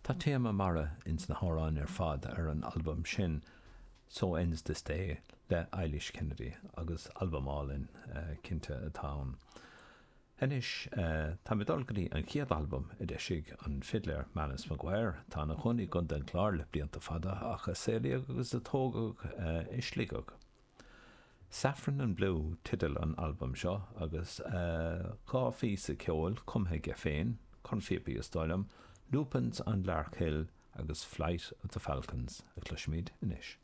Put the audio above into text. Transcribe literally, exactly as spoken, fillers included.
Tá téama mara ins na hamhráin ar fad ar an albam sin So Ends This Day le Eilís Kennedy agus albam álainn uh, cinnte atá ann. Anois uh, tá mé dul go dtí an chéad albam a d'eisigh an fidléir Manus Maguire atá ina chónaí i gContae an Chláir le blianta fada ach a saolaíodh agus a tógadh uh, i Sligeach. Saffron and Blue teideal an albam seo agus uh, dhá phíosa ceoil cumtha aige féin cornphíopaí is dóigh liom, Lupins on Lark Hill agus Flight of the Falcons a chloisfimid anois.